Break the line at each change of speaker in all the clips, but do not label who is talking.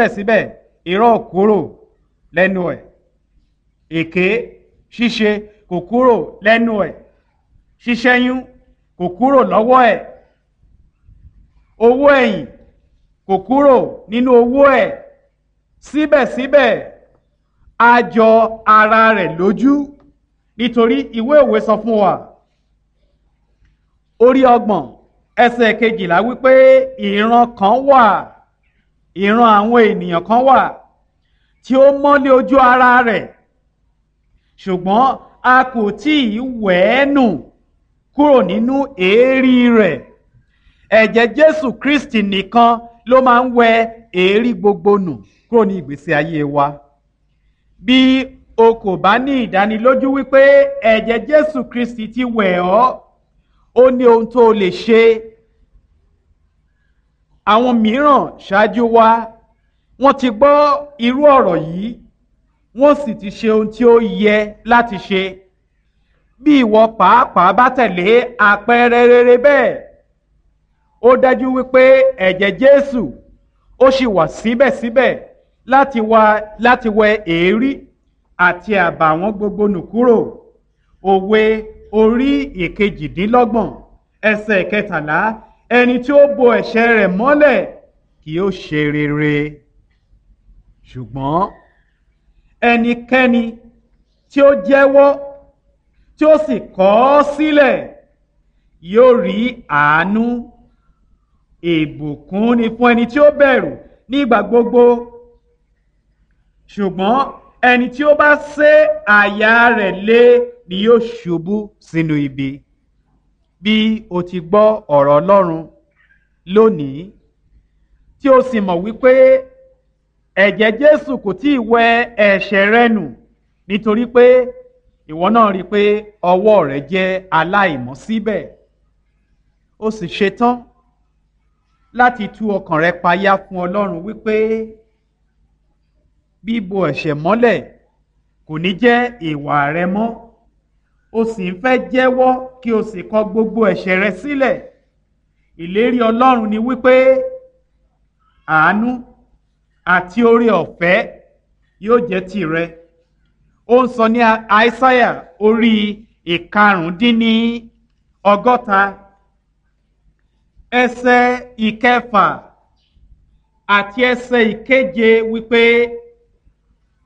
Síbẹ̀síbẹ̀ irọ́ ò kúrò lẹ́nu ẹ̀, èké ṣíṣe kò kúrò lẹ́nu ẹ̀, ṣíṣẹ́yún kò kúrò lọ́wọ́ ẹ̀, owó ẹ̀yìn kò kúrò nínú owó ẹ̀. Síbẹ̀síbẹ̀ a jọ ara rẹ̀ lójú, nítorí ìwé òwe sọ fún wa orí 30 ẹsẹ̀ 12 wípé ìran kan wà, ìran àwọn ènìyàn kan wà tí ó mọ́lé ojú ara rẹ̀, ṣùgbọ́n a kò tí ì wẹ̀ ẹ́ nù kúrò nínú èérí rẹ̀. Ẹ̀jẹ̀ Jésù Kristi nìkan ló máa ń wẹ èérí gbogbo nù kúrò ní ìgbésí ayé wa. Bí o kò bá ní ìdánilójú wípé ẹ̀jẹ̀ Jésù Kristi ti wẹ̀ ọ́, ó ní ohun tó o lè ṣe. Àwọn mìíràn ṣáájú wa, wọ́n ti gbọ́ irú ọ̀rọ̀ yìí, wọ́n sì ti ṣe ohun tí ó yẹ láti ṣe. Bí ìwọ pàápàá bá tẹ̀lé àpẹẹrẹ rere bẹ́ẹ̀, ó dájú wípé ẹ̀jẹ̀ Jésù ó sì wà síbẹ̀síbẹ̀ láti wẹ èérí àti àbàwọ́n gbogbo nù kúrò. Òwe orí 28 ẹsẹ̀ 13, ẹni tí ó bo ẹ̀ṣẹ̀ rẹ̀ mọ́lẹ̀ kì yóò ṣe rere. Ṣùgbọ́n ẹnikẹ́ni tí ó jẹ́wọ́ tí ó sì kọ̀ ọ́ sílẹ̀ yóò rí àánú. Ìbùkún ni fún ẹni tí ó bẹ̀rù nígbà gbogbo, ṣùgbọ́n ẹni tí ó bá sé àyà rẹ̀ lé ni yóò ṣubú sínú ibi. Bí o ti gbọ́ ọ̀rọ̀ Ọlọ́run lónìí, tí o sì mọ̀ wípé ẹ̀jẹ̀ Jésù kò tí ì wẹ ẹ̀ṣẹ̀ rẹ nù, nítorí pé ìwọ náà rí i pé ọwọ́ rẹ jẹ́ aláìmọ́ síbẹ̀, o sì ṣetán láti tú ọkàn rẹ payá fún Ọlọ́run wípé bíbo ẹ̀ṣẹ̀ mọ́lẹ̀ kò ní jẹ́ ìwà rẹ mọ́, o sì ń fẹ́ jẹ́wọ́ kí o sì kọ gbogbo ẹ̀ṣẹ̀ rẹ sílẹ̀. Ìlérí Ọlọ́run ni wípé àánú àti oore ọ̀fẹ́ yóò jẹ́ tìrẹ. Ó ń sọ ní Aísáyà orí 65 ẹsẹ̀ 6 àti ẹsẹ̀ 7 wípé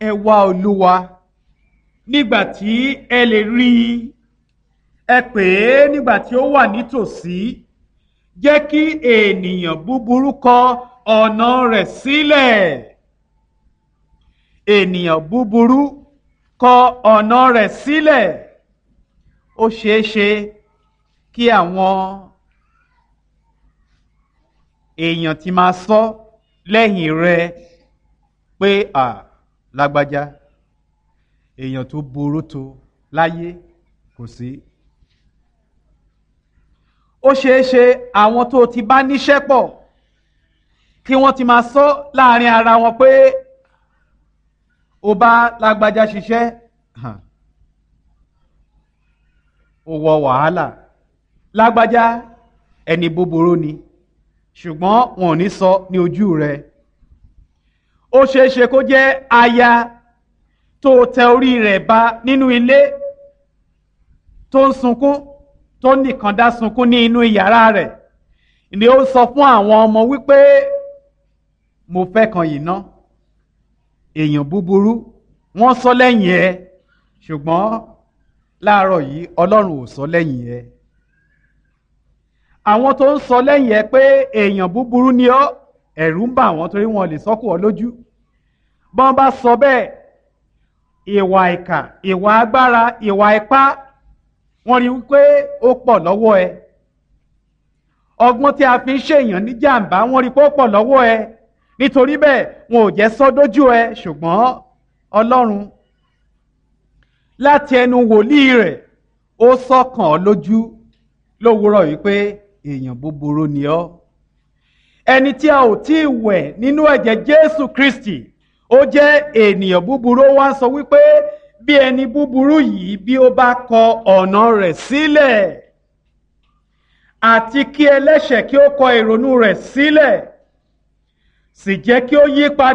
ẹ wá Olúwa nígbà tí ẹ lè rí i, ẹ pè é nígbà tí ó wà nítòsí. Jẹ́ kí ènìyàn búburú kọ ọ̀nà rẹ̀ sílẹ̀. Ènìyàn búburú kọ ọ̀nà rẹ̀ sílẹ̀. Ó ṣeé ṣe kí àwọn èèyàn ti máa sọ lẹ́yìn rẹ pé à lágbájá, èèyàn tó burú tó láyé kò sí. Ó ṣeé ṣe àwọn tó ti bá níṣẹ́ pọ̀ kí wọ́n ti máa sọ láàrin ara wọn pé o bá lágbájá ṣiṣẹ́, o wọ wàhálà, lágbájá ẹni búburú ni, ṣùgbọ́n wọn ò ní sọ ní ojú rẹ. Ó ṣeé ṣe kó jẹ́ aya tó tẹ orí rẹ̀ ba nínú ilé tó ń sunkún, tó nìkan dá sunkún ní inú yàrá rẹ̀, ni ó sọ fún àwọn ọmọ wípé mo fẹ́ kan yìí ná, èèyàn búburú. Wọ́n sọ lẹ́yìn ẹ, ṣùgbọ́n láàárọ̀ yìí Ọlọ́run ò sọ lẹ́yìn ẹ. Àwọn tó ń sọ lẹ́yìn ẹ pé èèyàn búburú ni ọ́, ẹ̀rù ń bà wọ́n torí wọn lè sọ́kù ọ lójú. Bọ́n bá sọ bẹ́ẹ̀, ìwà ìkà, ìwà agbára, ìwà ipá, wọ́n rí wípé ó pọ̀ lọ́wọ́ ẹ. Ọgbọ́n tí a fi ń ṣèyàn ní jàǹbá, wọ́n rí pé ó pọ̀ lọ́wọ́ ẹ. Nítorí bẹ́ẹ̀ wọn ò jẹ́ sọ dójú ẹ, ṣùgbọ́n Ọlọ́run láti ẹnu wòlíì rẹ̀ ó sọ̀kàn ọ́ lójú lówùúrọ̀ wípé èèyàn búburú ni ọ́. Ẹni tí a ò tí ì wẹ̀ nínú ẹ̀jẹ̀ Jésù Kristi, ó jẹ́ ènìyàn búburú. Ó wá ń sọ wípé bí ẹni búburú yìí bí ó bá kọ ọ̀nà rẹ̀ sílẹ̀, àti kí ẹlẹ́ṣẹ̀ kí ó kọ ìrònú rẹ̀ sílẹ̀, sì jẹ́ kí ó yí padà.